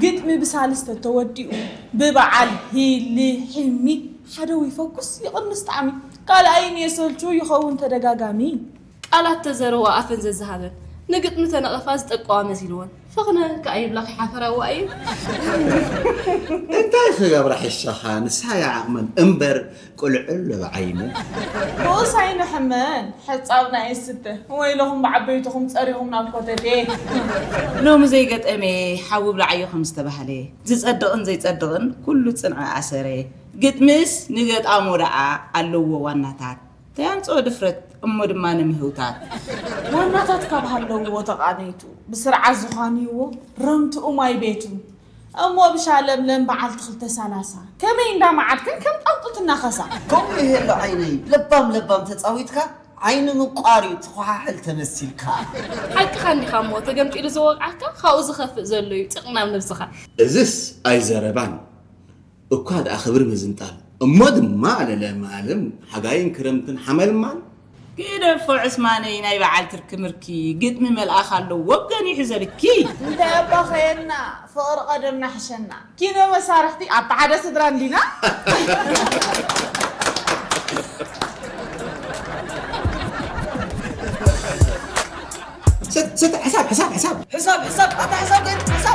ግጥሚ ብሳልስተ ተወዲኡ ብበዓል ሂሊ ሒሚ ሓደ ይፈኩስ ይቕንስ ጣዕሚ ካልኣይን የሰልቹ ይኸውን ተደጋጋሚ። ቃላት ተዘረዋ ኣፈን ዘዝሃበን ንግጥሚ ተነቐፋ ዝጠቀዋ መሲልወን ፈኽነ ከኣ ይብላ ከይሓፈራዋ እየን። እንታይ ክገብራ ሕሻኻ ንሳ እያ ዓቕመን እምበር ቁልዕል ብዓይነን። ብኡስ ኣይንሕመን ሕጻብና ይስተ ወይለኹም ብዓበይትኹም ጸሪኹም ናብ ኮተቴ። ሎሚ ዘይገጠመ ሓዊ ብላዓዮ ከም ዝተባህለ ዝጸድቕን ዘይጸድቕን ኩሉ ጽንዐ ኣሰረ። ግጥምስ ንገጣሞ ደኣ ኣለዎ ዋናታት ተያምጽኦ ድፍረት እሞ ድማ ንምህውታት። ዋናታት ካብ ሃለውዎ ተቓነይቱ ብስርዓት ዝዃንይዎ ረምትኡ ማይ ቤቱ እሞ ብሻ ለምለም በዓልቲ ክልተ ሰላሳ ከመይ እንዳ መዓድክን ከም ጣውጡ ትናኸሳ። ከምኡ ይሄሎ ዓይነይ ለባም ለባም ተጻዊትካ ዓይኒ ምቋር እዩ ትኾሓሕል ተመሲልካ። ሓቅኻ እንዲኻ እሞ ተገምጢሉ ዝወቕዓካ ካብኡ ዝኸፍእ ዘሎ እዩ ጥቕናም ነብስኻ። እዝስ ኣይዘረባን እኳ ደኣ ክብሪ ምዝንጣል እሞ ድማ ለለማለም ሓጋይን ክረምትን ሓመልማል ግደፎ ዕስማነይ ናይ በዓል ትርኪ ምርኪ ግጥሚ መልኣኽ ኣለዎ ገኒሑ ዘልኪ። እንታይ ኣባኸየና ፍቕሪ ቀደምና ሕሸና ኪኖ መሳርሕቲ ኣብታ ሓደ ስድራ እንዲና። ስት ስት ሕሳብ ሕሳብ ሕሳብ ሕሳብ ሕሳብ ኣታ ሕሳብ ግን ሕሳብ